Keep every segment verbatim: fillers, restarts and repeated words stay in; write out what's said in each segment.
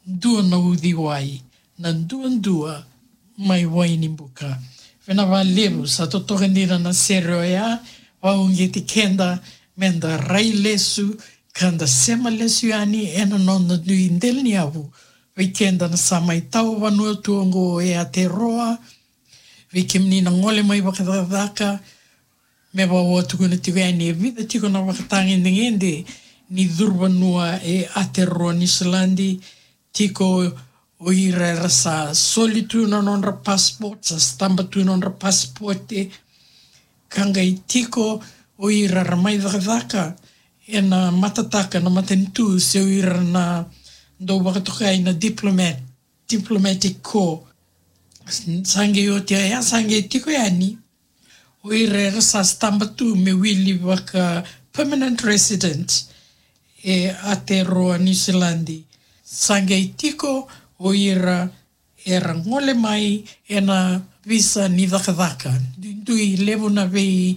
dua na uciwai, na duadua mai Wainibuka. Vinaka vakalevu, sa totoka dina na sere oya, vakauqeti keda meda rai lesu, ka da sema lesu yani ena noda dui delaniyavu. Vei keda na sa mai tawa vanua tu oqo e Aotearoa, vei kemuni na gole mai vakacakacaka, me vaka au tukuna tiko yani, e vica tiko na vakatagedegede ni curu vanua e Aotearoa Niusiladi. Tiko o ira era sa soli tu na nodra passport, sa stamp tu na nodra passport, ka qai tiko o ira era mai cakacaka ena matataka na matanitu, se o ira na dau vakatokai na diplomat, diplomatic corps. Sa qai oti oya, sa qai tiko yani o ira era sa stamp tu me wili vaka permanent resident e Aotearoa Niusiladi. Sa qai tiko o ira era gole mai ena visa ni cakacaka. Duidui, levu na vei,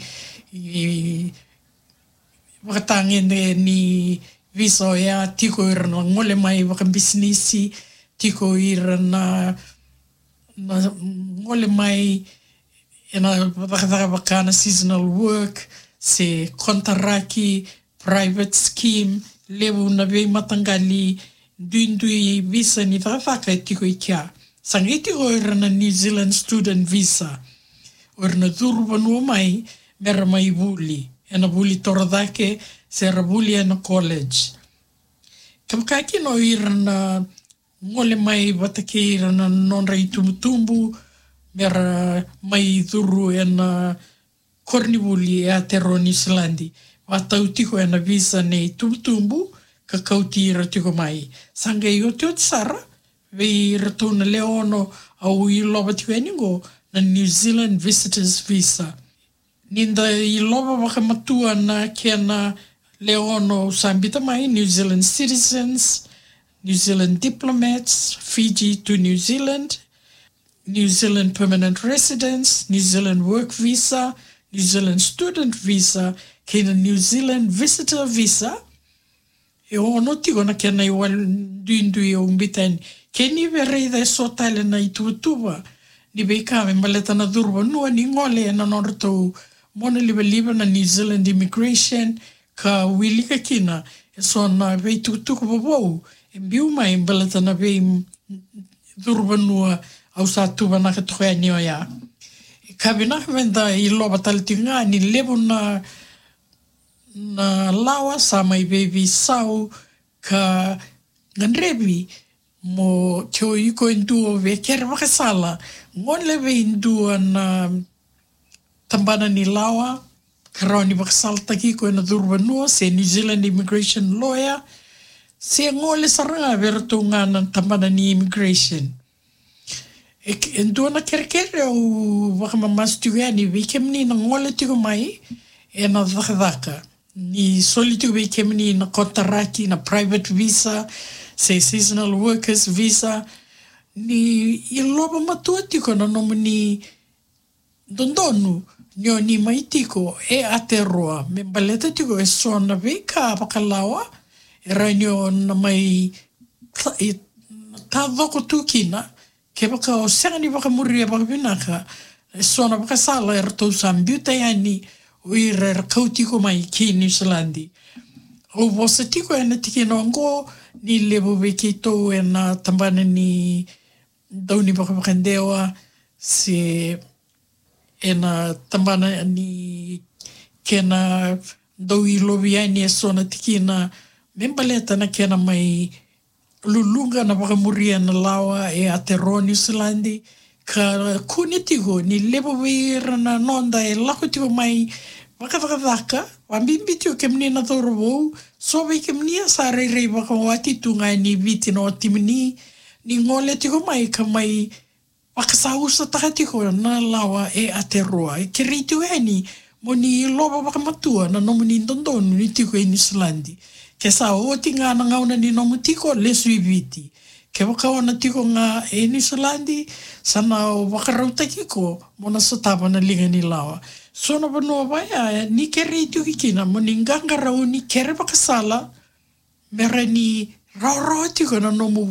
i, vakatagedegede ni visa oya. Tiko ira na gole mai vakabisinisi, tiko ira na, na gole mai ena cakacaka vaka na seasonal work, se konitaraki, private scheme, levu na veimataqali duidui visa ni cakacaka e tiko i kea. Sa qai tiko o ira na New Zealand student visa, o ira na curu vanua mai mera mai vuli ena vuli torocake, se ra vuli ena college. Kevaka kina o ira na gole mai vata kei ira na nodra itubutubu mera mai curu ena koronivuli e Aotearoa Niusiladi, vakatau tiko ena visa nei tubutubu ka kauti ira tiko mai. Sa qai otioti sara vei iratou na lewe ono au ilova tiko yani oqo, na New Zealand visitors visa. Ni da ilova vakamatua na kena lewe ono au sa biuta mai: New Zealand citizens, New Zealand diplomats, Fiji to New Zealand, New Zealand permanent residents, New Zealand work visa, New Zealand student visa, kei na New Zealand visitor visa. E ono tiko na kena iwali duidui au biuta yani. Ke ni via raica eso tale na ituvatuva ni veika me baleta na curu vanua ni gole ena nodratou monalivaliva na New Zealand Immigration, ka wilika kina eso na veitukutuku vovou e biu mai baleta na vei curu vanua au sa tuvanaka toka yani oya. Ka vinaka meda ilova tale tiko ga ni levu na, na lawa sa mai veiveisau ka gadrevi mo, ke o iko e dua via kere vakasala, gole vei dua na tabana ni lawa ka rawa ni vakasalataki iko ena curu vanua, se New Zealand immigration lawyer, se gole sara ga vei iratou ga na tabana ni immigration. E, e dua na kerekere au vakamamasu tiko yani vei kemuni na gole tiko mai ena cakacaka, ni soli tiko vei kemuni na konitaraki, na private visa, se seasonal workers visa, ni ilova matua tiko na nomuni dodonu ni o ni mai tiko e Aotearoa me baleta tiko eso na veika vakalawa e rawa ni o na mai ta-, i-, tacoko tu kina kevaka o sega ni vakamuria vakavinaka eso na vakasala eratou sa biuta yani o ira era kau tiko mai ki Niusiladi. Au vosa tiko ena tikina oqo ni levu vei keitou ena tabana ni dau ni vakavakadewa, se ena tabana ni kena dau ilovi yani eso na tikina me baleta na kena mai luluqa na vakamuria na lawa e Aotearoa Niusiladi, ka kune tiko ni levu vei ira na noda e lako tiko mai vakacakacaka, vakabibi tiko kemuni na cauravou, so vei kemuni a sa rairai vakawati tu ga ni Viti na watimuni, ni gole tiko mai ka mai vakasausataka tiko na lawa e Aotearoa. E kerei tiko yani mo ni ilova vakamatua na nomuni dodonu ni tiko e Niusiladi. Ke sa oti ga na gauna ni nomu tiko, lesu i Viti. Kevaka o na tiko ga e Niusiladi, sa na vakarautaki iko mo na sotava na liga ni lawa. So na vanua vaya ni kerei tiko kina mo ni qaqarauni, kere vakasala, me rawa ni rawarawa tiko na nomu